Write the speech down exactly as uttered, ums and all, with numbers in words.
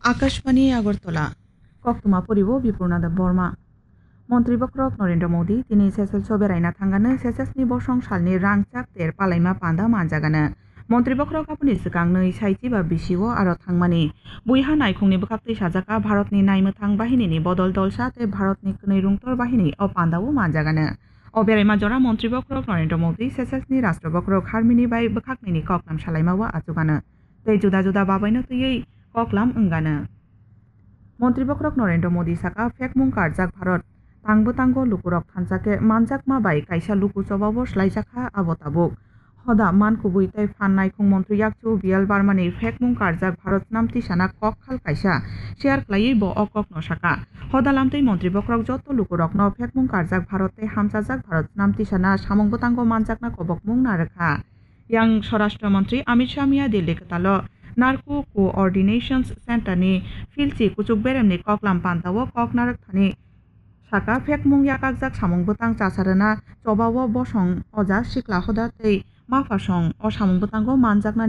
Akashbani Agartala, koktwma poribo Bipurna Debbarma. Montri bokhorok Narendra Modi tini Seychelles o beraina thangano Seychelles ni bosong salni rangchak ter palaima panda manjagano. Montri bokhorok aboni swkang nwi saichi ba bisi o aro thangmani. Buiha naikhungni bwkhaktwi sajaka Bharatni naimwthang bahinini bodol dolsa tei Bharatni kwnwi rungtor bahini o panda o manjagano. O beraima jora Montri bokhorok Narendra Modi Seychelles ni Rashtra bokhorok Harmini bai bwkhaknwini koklam salaima o achugano. Tei juda juda babaino twiwi koklam wngano. Montri bokhorok Narendra Modi saka, phekmung karjak Bharat tang bwtango lukurok thansa khe manjakma bai kaisa luku chobao swlaijakha abo tabuk. Hoda man kubui tei phan naikhung montri yakchu B L Barmani phekmung karjak Bharat snam tisana kok khal kaisa share khlaiwi bo o kokno saka. Hoda lamtwi montri bokhorok joto lukurokno phekmung karjak Bharat tei hamchajak Bharat snam tisana samung bwtango manjakna kobokmung narwkha. Yang Swarashtra Mantri Amit Shah miya Delhi kwtalo Narco Coordination Center ni philchi kuchuk beremni koklam pantao kok narwk thani saka, phekmung yakakjak samung bwtang chasarwna chobao bosong oja sikla hoda tei maphasong o samung bwtango manjakna